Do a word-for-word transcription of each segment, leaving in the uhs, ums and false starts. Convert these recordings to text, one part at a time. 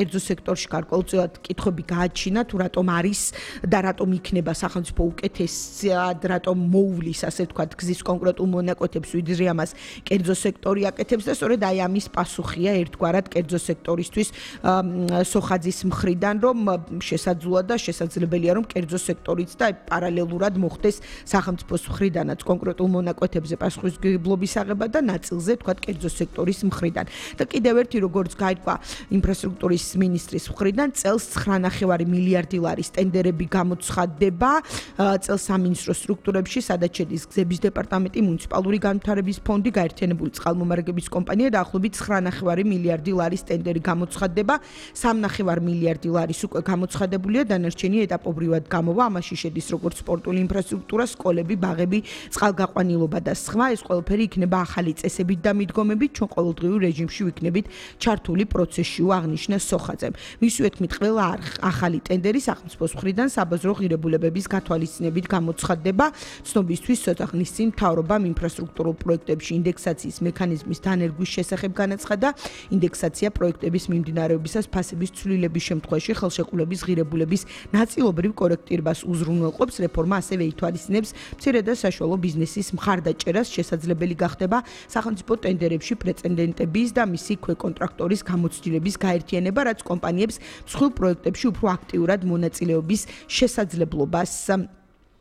კერძო სექტორში გარკვეულწილად კითხვები გააჩინა თუ რატომ არის და რატომ იქნება სახელმწიფო უკეთესად, რატომ მოუვლის, ასე ვთქვათ, გზის კონკრეტულ მონაკვეთებს, ვიდრე ამას კერძო სექტორი აკეთებს და სწორედ აი ამის პასუხია ერთგვარად კერძო სექტორისთვის სოხაძის მხრიდან, რომ შესაძლოა და შესაძლებელია, რომ კერძო სექტორიც და პარალელურად მოხდეს სახელმწიფოს მხრიდანაც კონკრეტულ მონაკვეთებზე პასუხისმგებლობის აღება და ნაწილზე თქვათ კერძო სექტორის მხრიდან. და კიდევ ერთი როგორც გაირკვა ინფრასტრუქტურის მინისტრის მხრიდან წელს ცხრა ნახევარი მილიარდი ლარის ტენდერები გამოცხადდება წელს სამინისტრო სტრუქტურებში, სადაც შედის გზების დეპარტამენტი, მუნიციპალური განვითარების ფონდი, გაერთიანებული წყალმომარაგების კომპანია და ახლობით ცხრა ნახევარი მილიარდი ლარის ტენდერი გამოცხადდება. სამ ნახევარ მილიარდი ლარის უკვე გამოცხადებულია, დანარჩენი ეტაპობრივად გამოვა, ამაში შედის როგორც სპორტული ინფრასტრუქტურა, სკოლები, ბაღები, წყალგაყვანილობა და სხვა. ეს ყველაფერი იქნება ახალი წესებით და მიდგომებით, ჩვენ ყოველდღიურ რეჟიმში ვიქნებით ჩართული პროცესში, აღნიშნა სოხაძემ. მისივე თქმით, ყველა ახალი ტენდერი სახელმწიფოს მხრიდან საბაზრო ღირებულებების გათვალისწინებით გამოცხადდება. ცნობისთვის ცოტა ხნის წინ მთავრობამ ინფრასტრუქტურულ პროექტებში ინდექსაციის მექანიზმის დანერგვის შესახებ განაცხადა. ინდექსაცია პროექტების მიმდინარეობისას ფასების ცვლილების შემთხვევაში ხელშეკრულების ღირებულების ნაწილობრივ კორექტირებას უზრუნველყოფს. რეფორმა ასევე ითვალისწინებს მცირე და საშუალო ბიზნესის მხარდაჭერას, შესაძლებელი გახდება სახელმწიფო ტენდერებში პრეცედენტების და მისი ქვეკონტრაქტორის გამოცდილების გაერთიანება, რაც კომპანიებს მსხვილ პროექტებში უფრო აქტიურად მონაწილეობის შესაძლებლობას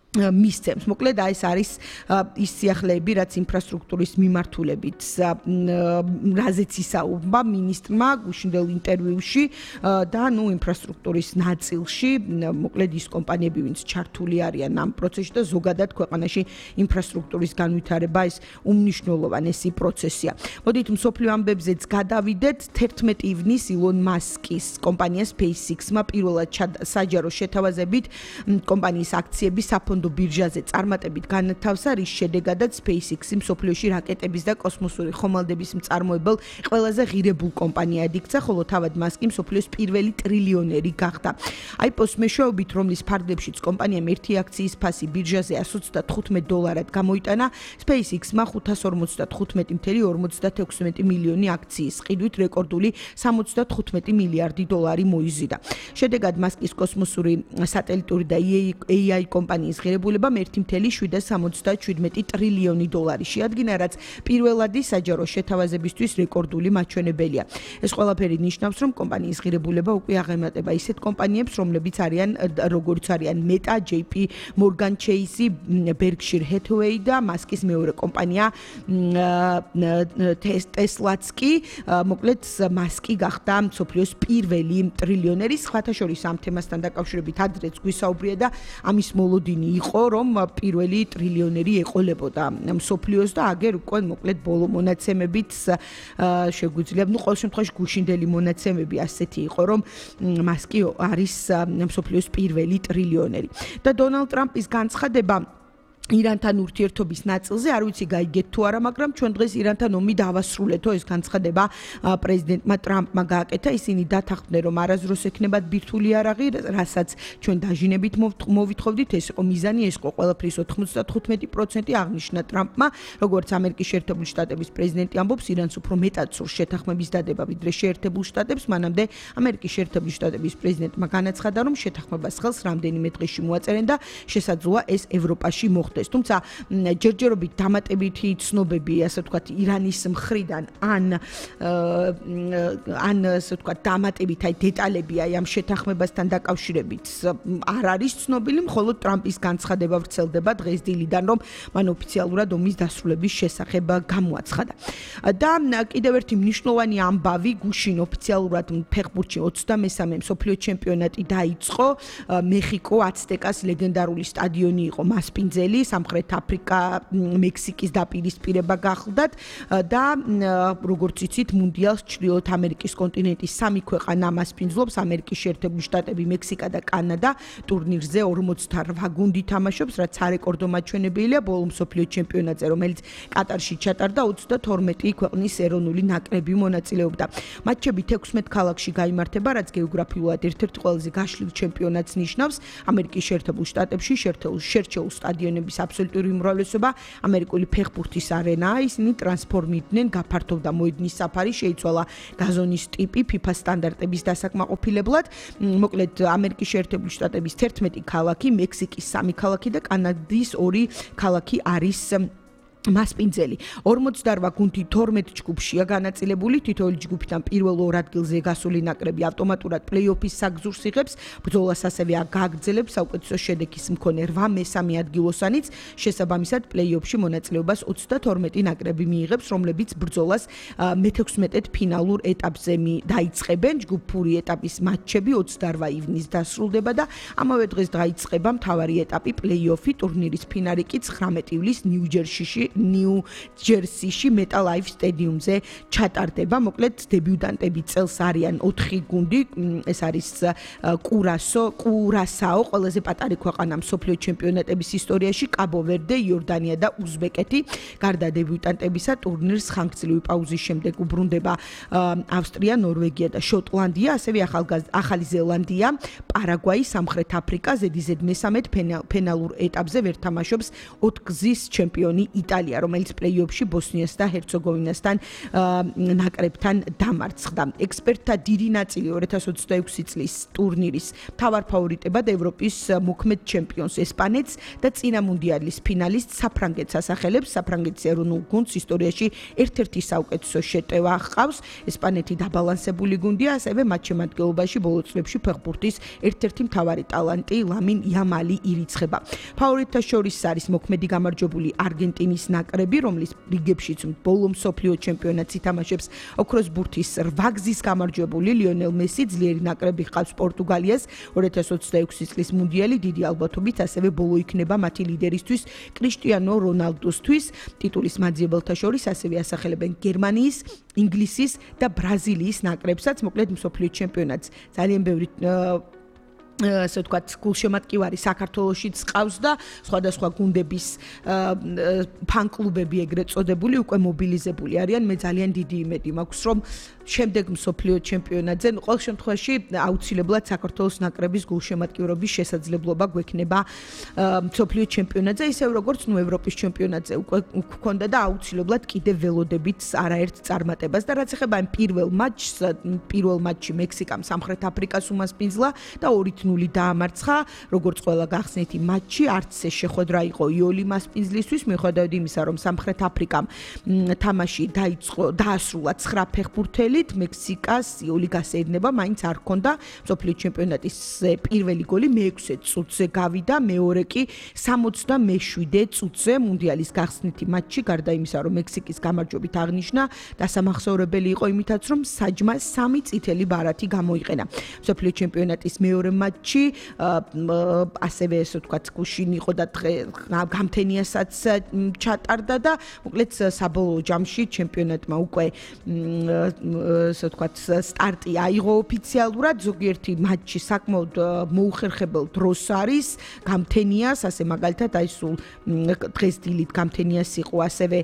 მისცემს. მოკლედ აი ეს არის ის სიახლეები, რაც ინფრასტრუქტურის მიმართულებით რაზეც ისაუბრა მინისტრმა გუშინდელ ინტერვიუში და ნუ ინფრასტრუქტურის ნაწილში, მოკლედ ის კომპანიები, ვინც ჩართული არიან ამ პროცესში და ზოგადად ქვეყანაში ინფრასტრუქტურის განვითარება ეს უმნიშვნელოვანესი პროცესია. მოდით მსოფლიო ამბებზეც გადავიდეთ. თერთმეტი ივნისს ილონ მასკის კომპანია SpaceX-მა პირველად საჯარო შეთავაზებით კომპანიის აქციები საფონდო ბირჟაზე წარმატებით განათავსა, რის შედეგადაც SpaceX-ი მსოფლიოში რაკეტების და კოსმოსური ხომალდების მწარმოებელ ყველაზე ღირებულ კომპანიად იქცა, ხოლო თავად მასკი მსოფლიოს პირველი ტრილიონერი გახდა. აი პოს მეშვეობით, რომლის ფარგლებშიც კომპანიამ ერთი აქციის ფასი ბირჟაზე εκατს ოცდათხუთმეტ დოლარად გამოიტანა, SpaceX-მა ხუთას ორმოცდათხუთმეტი წუთი ორმოცდათექვსმეტი მილიონი აქციის ყიდვით რეკორდული სამოცდათხუთმეტი მილიარდი დოლარი მოიზიდა. შედეგად მასკის კოსმოსური სატელიტური და ეი აი კომპანიის ღირებულებამ ერთი წუთი შვიდსამოცდაშვიდმეტი ტრილიონი დოლარი შეადგინა, რაც პირველადი საჯარო შეთავაზებისთვის რეკორდული მაჩვენებელია. ეს ყველაფერი ნიშნავს, რომ კომპანიის ღირებულება უკვე აღემატება ისეთ კომპანიებს, რომლებიც არიან როგორც არიან Meta, ჯეი პი Morgan Chase, Berkshire Hathaway და მასკის მეორე კომპანია Tesla-ც კი, მოკლედ მასკი გახდა მსოფლიოს პირველი ტრილიონერი. სხვათა შორის ამ თემასთან დაკავშირებით ადრეც გვისაუბრია და ამის მოლოდინი იყო, რომ პირველი ტრილიონერი ეყოლებოდა მსოფლიოს და აგერ უკვე მოკლედ ბოლო მონაცემებით შეგვიძლია, ნუ ყოველ შემთხვევაში გუშინდელი მონაცემები ასეთი იყო, რომ მასკი არის მსოფლიოს პირველი ტრილიონერი. და დონალდ ტრამპის განცხადება ირანთან ურთიერთობის ნაწილზე, არ ვიცი გაიგეთ თუ არა, მაგრამ ჩვენ დღეს ირანთან ომი დავასრულეთო, ეს განცხადება პრეზიდენტმა ტრამპმა გააკეთა. ისინი დათანხმდნენ, რომ არასდროს ექნებათ ბირთვული იარაღი, რასაც ჩვენ დაჟინებით მოვითხოვდით, ეს იყო მიზანი, ეს იყო ყველაფრის ოთხმოცდათხუთმეტი პროცენტი აღნიშნა ტრამპმა. როგორც ამერიკის შეერთებული შტატების პრეზიდენტი ამბობს, ირანს უფრო მეტად სურს შეთანხმების დადება, ვიდრე შეერთებულ შტატებს. მანამდე ამერიკის შეერთებული შტატების პრეზიდენტმა განაცხადა, რომ შეთანხმებას ხელს რამდენიმე დღეში მოაწერენ და შესაძლოა ეს ევროპაში მოხდეს. თუმცა ჯერჯერობით დამატებითი ცნობები, ასე ვთქვათ, ირანის მხრიდან ან ან ასე ვთქვათ, დამატებით აი დეტალები აი ამ შეთანხმებასთან დაკავშირებით არ არის ცნობილი, მხოლოდ ტრამპის განცხადება ვრცელდება დღეს დილიდან, რომ მან ოფიციალურად ომის დასრულების შესახებ გამოაცხადა. და კიდევ ერთი მნიშვნელოვანი ამბავი, გუშინ ოფიციალურად ფეხბურთში ოცდამესამე მსოფლიო ჩემპიონატი დაიწყო. მეხიკო აცტეკას ლეგენდარული სტადიონი იყო მასპინძელი, სამხრეთ აფრიკა, მექსიკის დაპირისპირება გახლდათ და როგორც იცით, მუნდიალს ჩრდილოეთ ამერიკის კონტინენტის სამი ქვეყანა მასპინძლობს, ამერიკის შეერთებული შტატები, მექსიკა და კანადა. ტურნირზე ორმოცდაოთხ გუნდი თამაშობს, რაც სარეკორდო მაჩვენებელია ბოლო მსოფლიო ჩემპიონატზე, რომელიც კატარში ჩატარდა, ოცდათორმეტი ქვეყნის ეროვნული ნაკრები მონაწილეობდა. მატჩები თექვსმეტ ქალაქში გაიმართება, რაც გეოგრაფიულად ერთ-ერთ ყველაზე გაშლილ ჩემპიონატს ნიშნავს. ამერიკის შეერთებულ შტატებში შერჩეულ სტადიონების აბსოლუტური უმრავლესობა ამერიკული ფეხბურთის არენაა, ისინი ტრანსფორმირდნენ, გაფართოვდა მოედნის საფარი, შეიცვალა გაზონის ტიპი FIFA სტანდარტების დასაკმაყოფილებლად. მოკლედ ამერიკის შეერთებული შტატების თერთმეტი ქალაქი, მექსიკის სამი ქალაქი და კანადის ორი ქალაქი არის მასპინძელი. ორმოცდაორ გუნდი თორმეტ ჯგუფშია განაწილებული, თითოეული ჯგუფიდან პირველ ორ ადგილზე გასული ნაკრები ავტომატურად პლეი-ოფის საგზურს იღებს, ბრძოლას ასევე აგაგრძელებს საუკეთესო შედეგის მქონე რვა მესამე ადგილოსანიც, შესაბამისად პლეი-ოფში მონაწილეობას ოცდათორმეტი ნაკრები მიიღებს, რომლებიც ბრძოლას მეთექვსმეტედ ფინალურ ეტაპზე დაიწყებენ. ჯგუფური ეტაპის მატჩები ოცდაორ ივნისს დასრულდება და ამავე დღეს დაიწყება მთავარი ეტაპი პლეი-ოფი, ტურნირის ფინალი კი ცხრამეტი ივლისს ნიუ-ჯერსიში ნიუ-ჯერსიში მეტალ ლაიფ სტადიუმზე ჩატარდება. მოკლედ დებიუტანტები წელს არიან ოთხი გუნდი, ეს არის კურასო, კურასაო, ყველაზე პატარა ქვეყანა მსოფლიო ჩემპიონატების ისტორიაში, კაბო-ვერდე, იორდანია და უზბეკეთი. გარდა დებიუტანტებისა, ტურნირს ხანგრძლივი პაუზის შემდეგ უბრუნდება ავსტრია, ნორვეგია და შოტლანდია, ასევე ახალი ზელანდია, პარაგვაი, სამხრეთ აფრიკა, ზედიზედ მესამედ ფინალურ ეტაპზე ვერ თამაშობს ოთხგზის ჩემპიონი იტალია, რომელიც პლეი-ოფში ბოსნიას და ჰერცეგოვინასთან ნაკრებთან დამარცხდა. ექსპერტთა დიდი ნაწილი ორი ათას ოცდაექვსი წლის ტურნირის მთავარ ფავორიტებად ევროპის მოქმედ ჩემპიონს ესპანეთს და წინა მუნდიალის ფინალისტ საფრანგეთს ასახელებს. საფრანგეთის ეროვნულ გუნდს ისტორიაში ერთ-ერთი საუკეთესო შეტევა ჰყავს. ესპანეთი დაბალანსებული გუნდია, ასევე მათ შემადგენლობაში ბოლო წლებში ფეხბურთის ერთ-ერთი მთავარი ტალანტი ლამინ იამალი ირიცხება. ფავორიტთა შორის არის მოქმედი გამარჯვებული არგენტინის ნაკრები, რომლის რიგებშიც ბოლო მსოფლიო ჩემპიონატს ითამაშებს ოქროს ბურთის რვაგზის გამარჯვებული ლიონელ მესი. ძლიერი ნაკრები ჰყავს პორტუგალიას, ორი ათას ოცდაექვსი წლის მუნდიალი დიდი ალბათობით ასევე ბოლო იქნება მათი ლიდერისთვის კრისტიანო რონალდუსთვის. ტიტულის მაძიებელთა შორის ასევე ასახელებენ გერმანიის, ინგლისის და ბრაზილიის ნაკრებსაც. მოკლედ მსოფლიო ჩემპიონატს ძალიან ბევრი ასე ვთქვათ, გულშემატკივარი საქართველოშიც ყავს და სხვადასხვა გუნდების ფან-კლუბები ეგრეთ წოდებული უკვე მობილიზებული არიან. მე ძალიან დიდი იმედი მაქვს, რომ შემდეგ მსოფლიო ჩემპიონატზე, ну, ყოველ შემთხვევაში აუცილებლად საქართველოს ნაკრების გულშემატკივრობის შესაძლებლობა გვექნება მსოფლიო ჩემპიონატზე, ისევ როგორც ნუ ევროპის ჩემპიონატზე უკვე გქონდა და აუცილებლად კიდევ ველოდებით არაერთ წარმატებას და რაც ეხება ამ პირველ მატჩს, პირველ მატჩში მექსიკამ სამხრეთ აფრიკას უმასპინძლა და ორი ნული დაამარცხა, როგორც ყველა გახსნით იმ მატჩში, არც ეს შეხვედრა იყო იოლი მასპინძლისთვის, მიუხედავად იმისა, რომ სამხრეთ აფრიკამ თამაში დაიწყო, დაასრულა ცხრა ფეხბურთელით, მექსიკას იოლი გასეირნება, მაინც არ ჰქონდა მსოფლიო ჩემპიონატის პირველი გოლი მეექვსე წუთზე გავიდა, მეორე კი სამოცდამეშვიდე წუთზე მუნდიალის გახსნითი მატჩი, გარდა იმისა, რომ მექსიკის გამარჯვებით აღნიშნა, დასამახსოვრებელი იყო იმითაც, რომ საჯმა სამი წითელი ბარათი გამოიყენა. მსოფლიო ჩემპიონატის მეორე მატჩი ასევე ესე ვთქვათ, გუშინ იყო და გამთენიასაც ჩატარდა და მოკლედ საბოლოო ჯამში ჩემპიონატმა უკვე ესე ვთქვათ, სტარტი აიღო ოფიციალურად. ზოგიერთი მატჩი საკმაოდ მოუხერხებელ დროს არის გამთენიას, ასე მაგალითად აი სულ დღეს დილით გამთენიას იყო ასევე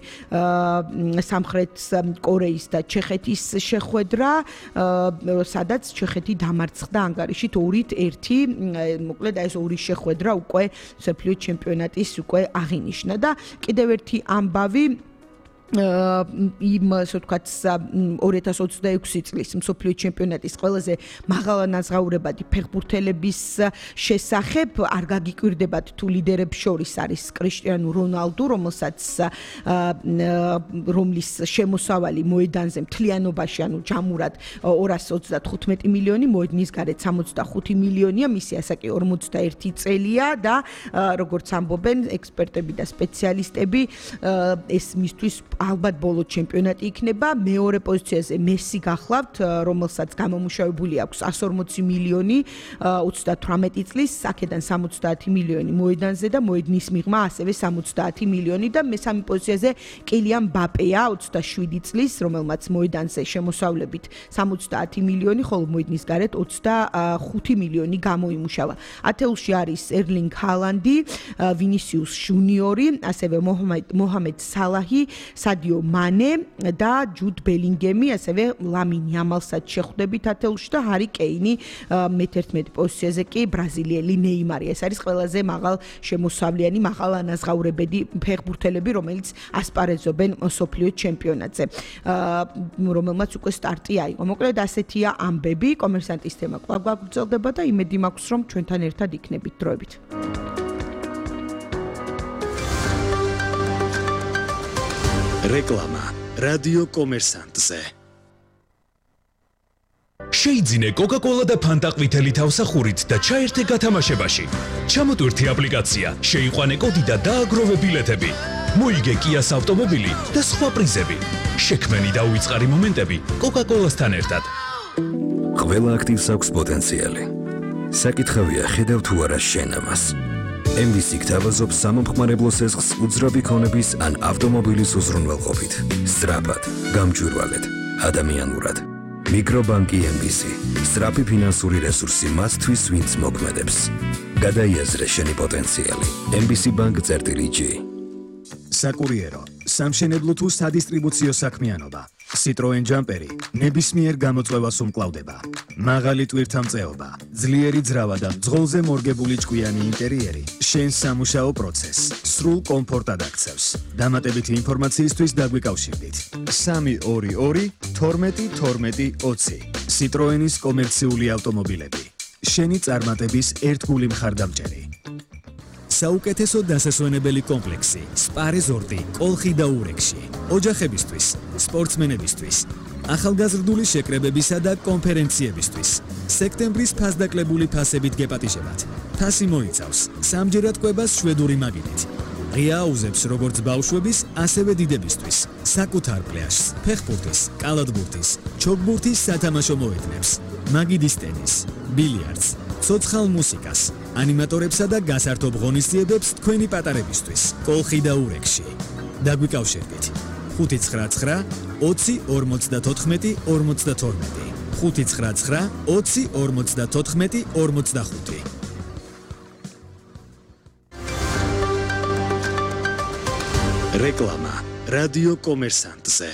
სამხრეთ კორეის და ჩეხეთის შეხვედრა, სადაც ჩეხეთი დამარცხდა ანგარიშით ორით ერთი. მოკლედ ეს ორი შეხვედრა უკვე მსოფლიო ჩემპიონატის უკვე აღინიშნა და კიდევ ერთი ამბავი იმ ასე ვთქვათ ორი ათას ოცდაექვსი წლის მსოფლიო ჩემპიონატის ყველაზე მაღალანაზღაურებადი ფეხბურთელების შესახებ არ გაგიკვირდებათ თუ ლიდერებს შორის არის კრისტიანო რონალდუ, რომელსაც რომლის შემოსავალი მოედანზე მთლიანობაში, ანუ ჯამურად ორასი ოცდათხუთმეტი მილიონი, მოედნის გარეთ სამოცდახუთი მილიონია, მისი ასაკი ორმოცდაერთი წელია და როგორც ამბობენ ექსპერტები და სპეციალისტები, ეს მისთვის ალბათ ბოლო ჩემპიონატი იქნება. მეორე პოზიციაზე მესი გახლავთ, რომელსაც გამომუშავებული აქვს εκατს ორმოცი მილიონი ოცდათვრამეტი წლის, აქედან სამოცდაათი მილიონი მოედანზე და მოედნის მიღმა ასევე სამოცდაათი მილიონი და მესამე პოზიციაზე კილიან მბაპეა ოცდაშვიდი წლის, რომელმაც მოედანზე შემოსავლებით სამოცდაათი მილიონი, ხოლო მოედნის გარეთ ოცდახუთი მილიონი გამოიმუშავა. ათეულში არის ერლინგ ჰალანდი, ვინისიუს ჟუნიორი, ასევე მოჰამედ სალაჰი, სადიო მანე და ჯუდ ბელინგემი, ასევე ლამინ იამალსაც შეხვდებით ათეულში და ჰარი კეინი მეთერთმეტე პოზიციაზე კი ბრაზილიელი ნეიმარი. ეს არის ყველაზე მაღალ შემოსავლიანი, მაღალ ანაზღაურებადი ფეხბურთელები, რომელიც ასპარეზობენ მსოფლიო ჩემპიონატზე, რომელმაც უკვე სტარტი აიღო. მოკლედ ასეთია ამბები, კომერსანტის თემა კვლავ გვაგრძელდება და იმედი მაქვს, რომ ჩვენთან ერთად იქნებით დროებით. რეკლამა რადიო კომერსანტზე. შეიძინე კოკა-კოლა და ფანტა ყვითელი თავსახურით და ჩაერთე გათამაშებაში. ჩამოტვირთი აპლიკაცია, შეიყვანე კოდი და დააგროვე ბილეთები. მოიგე კიას ავტომობილი და სხვა პრიზები. შექმენი და უიწყარი მომენტები კოკა-კოლასთან ერთად. ყველა აქტივს აქვს პოტენციალი. საკითხავია, ხედავ თუ არა შენ ამას. ემ ვი სი გთავაზობს სამომხმარებლო სესხს უძრავი ქონების ან ავტომობილის უზრუნველყოფით. სწრაფად, გამჭვირვალედ, ადამიანურად. მიკრობანკი ემ ვი სი. სწრაფი ფინანსური რესურსი მათთვის, ვინც მოქმედებს. გადაიაზრე შენი პოტენციალი. ემ ვი სი ბანკ წერტილი ჯი. საკურიერო, სამშენებლო თუ სადისტრიბუციო საქმიანობა. Citroen ჯამპერი ნებისმიერ გამოწვევას უმკლავდება. მაღალი ტვირთამწეობა, ძლიერი ძრავა და მძღოლზე მორგებული ჭკვიანი ინტერიერი შენს სამუშაო პროცესს სრულ კომფორტად აქცევს. დამატებითი ინფორმაციისთვის დაგვიკავშირდით. სამი ორი ორი თორმეტი თორმეტი ოცი. Citroenis კომერციული ავტომობილები. შენი წარმატების ერთგული მხარდამჭერი. საუკეთესო დასასვენებელი კომპლექსი, სპა რეზორტი, კოლხი და ურეკში. ოჯახებისთვის, სპორტსმენებისთვის, ახალგაზრდული შეკრებებისა და კონფერენციებისთვის. სექტემბრის ფასდაკლებული ფასებით გეპატიჟებათ. ფასი მოიცავს სამჯერად კვებას შვედური მაგიდით. ღია აუზებს როგორც ბავშვების, ასევე დიდებისთვის. საკუთარ პლაჟს, ფეხბურთის, კალათბურთის, ჩოგბურთის სათამაშო მოედნებს. მაგიდის ტენის, ბილიარდს, ცოცხალ მუსიკას, ანიმატორებსა და გასართობ ღონისძიებებს თქვენი პატარებისთვის. კოლხი და ურეკში. დაგვიკავშირდით. ხუთი ცხრა ცხრა ოცი ორმოცდათოთხმეტი ორმოცდათორმეტი. ხუთი ცხრა ცხრა ოცი ორმოცდათოთხმეტი ორმოცდახუთი. რეკლამა რადიო კომერსანტზე.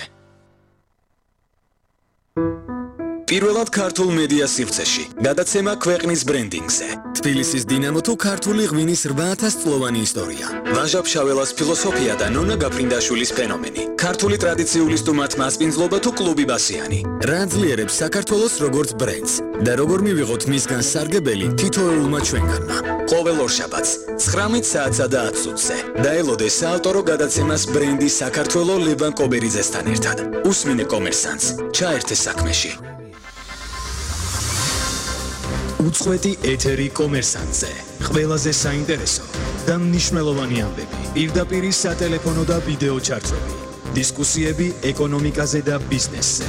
პირველად ქართულ მედია სივრცეში. გადაცემა ქვეყნის ბრენდინგზე. თბილისის დინამო თუ ქართული ღვინის რვა ათას წლოვანი ისტორია. ვაჟა ფშაველას ფილოსოფია და ნონა გაფრინდაშვილის ფენომენი. ქართული ტრადიციული სტუმართ მასპინძლობა თუ კლუბი ბასიანი. რა ძლიერებს საქართველოს როგორც ბრენდს და როგორ მივიღოთ მისგან სარგებელი თითოეულმა ჩვენგანმა. ყოველ ორშაბათს ცხრამეტ საათსა და ათს წუთზე. დაელოდე საავტორო გადაცემას ბრენდი საქართველო ლევან კობერიძესთან ერთად. უსმინე კომერსანტს, ჩაერთე საქმეში. უწყვეტი ეთერი კომერსანტზე. ყველაზე საინტერესო და მნიშვნელოვანი ამბები. პირდაპირ სატელეფონო და ვიდეო ჩარტები. დისკუსიები ეკონომიკაზე და ბიზნესზე.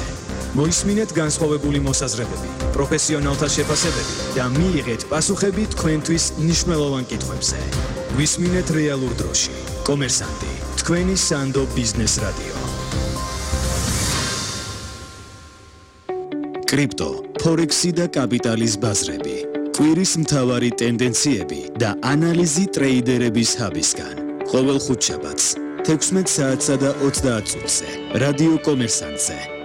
მოისმინეთ განსხვავებული მოსაზრებები, პროფესიონალთა შეფასებები და მიიღეთ პასუხები თქვენთვის მნიშვნელოვან კითხვებზე. ვისმინეთ რეალურ დროში. კომერსანტი, თქვენი სანდო ბიზნეს რადიო. კრიპტო, ფორექსი და კაპიტალის ბაზრები. კვირის მთავარი ტენდენციები და ანალიზი ტრეიდერების ჰაბისგან. ყოველ ხუთშაბათს თექვსმეტ საათსა და ოცდაათ წუთზე. რადიო კომერსანტზე.